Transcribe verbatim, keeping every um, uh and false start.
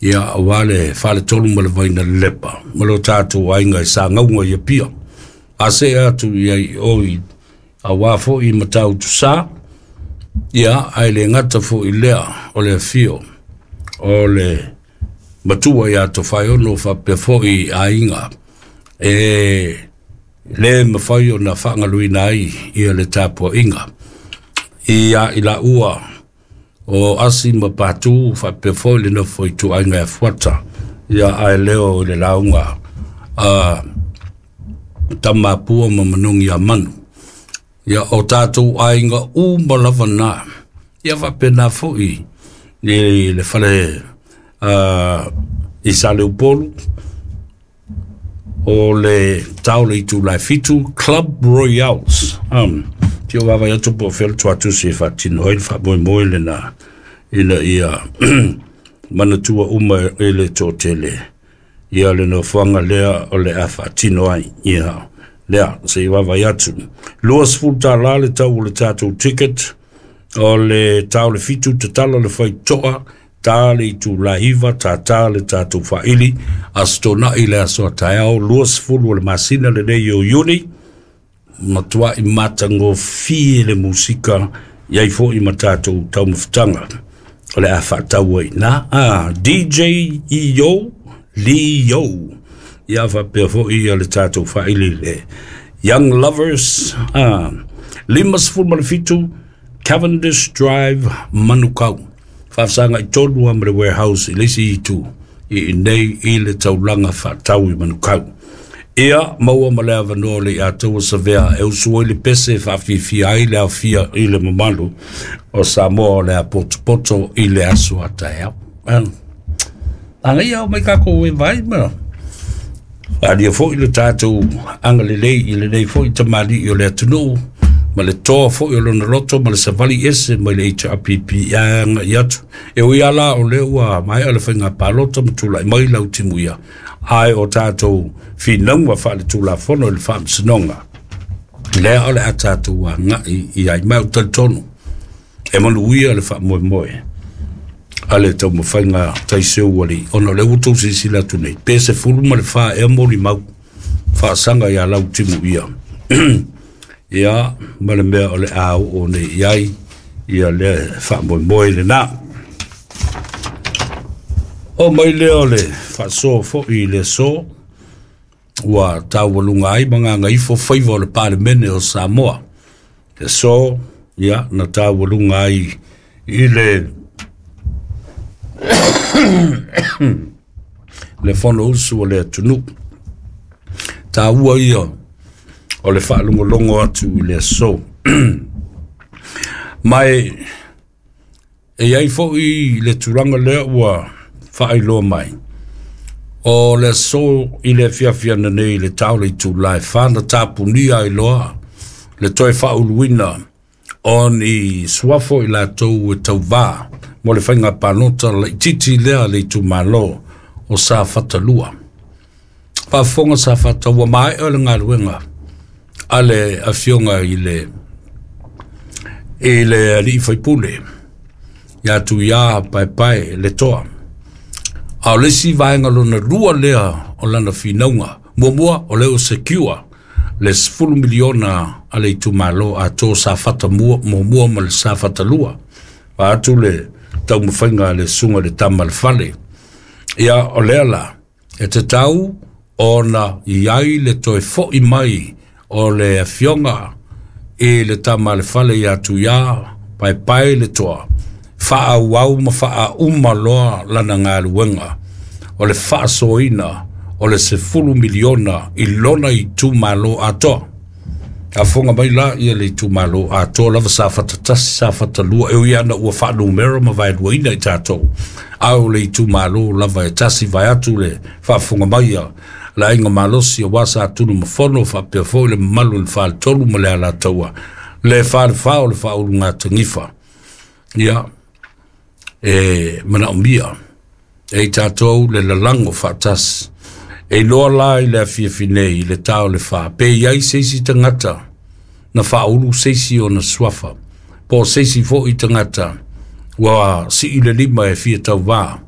Ia auā le faletolu ma le vaina lepa ma lo tatou aiga i Sagauga i Apia. A see atu i ai i o i auā fo'i Matautusā, ia ae le gata fo'i lea o le afio o le matua iā Tofaeono faapea fo'i aiga e lē mafai ona faagaluina ai ia le tapua'iga ia i laua o Asi ma Patu faapea foi le nofo ituaiga e Fuata, ia ae leo i le lauga a Tamapua ma Manogi Amanu. Ia o tatou aiga uma lava na. Ia faapena foi i le fale uh, i Saleupolu o le tau le itula e fitu Club Royals. Um, Tio vava atu po o fea le tuatusi e faatino ai le faamoemoe lena ina ia manatua uma e le toatele ia le nofoaga lea o le a faatino ai ia lea se i vaavaai atu. Luasefulu tālā le tau o le tatou ticket o le tau le fitu tatala le faitoa ta le itula iva tātā le tatou faaili Aso Toonai le aso a taeao luasefulu o le masina lenei o Iuni. Matua'i matagofie le musika i ai fo'i ma tatou taumafataga o le a faatau ai na a D J Io Leo ia faapea fo'i ia le tatou faaili le Young Lovers a lima sefulu ma le fitu Cavendish Drive Manukau faafasaga i tonu a ma le warehouse i le isi itu i inei i le taulaga faatau i Manukau. Ia maua ma le avanoa le ia taua savea e usu ai le pese e faafiafia ai le aofia i le mamalu o Samoa o le a potopoto i le aso a taeao. Agaia o mai kākou e vai ma faaalia fo'i le tatou agalelei i lenei fo'i tamalii o le atunuu ma le toa fo'i o lona loto ma le savali ese mai le H R P P aga'i atu. E ui ala o lea ua maea le faiga palota ma tula'i mai lau timuia ae o tatou finauga faaletulafono i le faamasinoga lea o le a tatou aga'i i ai mai o talitonu e manuia le faamoemoe a le taumafaiga taiseu alii ona o lea ua tou silasila atu nei pe sefulu ma le fa ea molimau faasaga iā lau timuia ia ma le mea o le a oo nei i ai ia lea faamoemoe lenā. O mai lea o le faasoa fo'i i le aso ua taualuga ai ma gagaifo faiva o le Palemene o Samoa. Le aso ia na taualuga ai i le le Fonousu o le atunuu. Taua ia o le faalogologo atu i le aso. Mai e iai fo'i le tulaga lea ua faailoa mai o le aso i le afiafi nei i le tau le itula e fa na tapunia ai loa le toe faauluina o ni suafo i latou e tauvā mo le faiga palota laitiiti lea le itumalo o Safatalua. Faafofoga Safata ua maea le galuega a le afioga i le i le alii faipule ia Tuiā Paepae le toa. A o le isi vaega lona lua lea o lana finauga. Muamua o lea ua secure le sefulu miliona a le itumalo atoa Safata mua, muamua ma le Safata lua. Vaeatu le taumafaiga a le susuga i le tama le fale. Ia o lea la e tatau ona i ai le toe fo'i mai o le afioga i le tama le fale ia Tuiā Paepae le toa faaauau ma faauma loa lana galuega o le faasoaina o le sefulu miliona i lona itumalo atoa. Afoga mai la ia le itumalo atoa lava Safata tasi Safata lua e ui ana ua faanumera ma vaeluaina i tatou. A o le itumalo lava e tasi vaeatu le faafofoga mai a le aiga malosi auā Sa Tunumafono faapea foi le mamalu i le faletolu ma le Alataua le falefā o le faaulugatanifa. Ia e manaomia e i tatou le lalago faatasi. E iloa la i le afiafi nei i le tao le fa pe iai se isi tagata na faaulu se isi ona suafa po o se isi fo'i tagata ua sii le lima e fia tauvā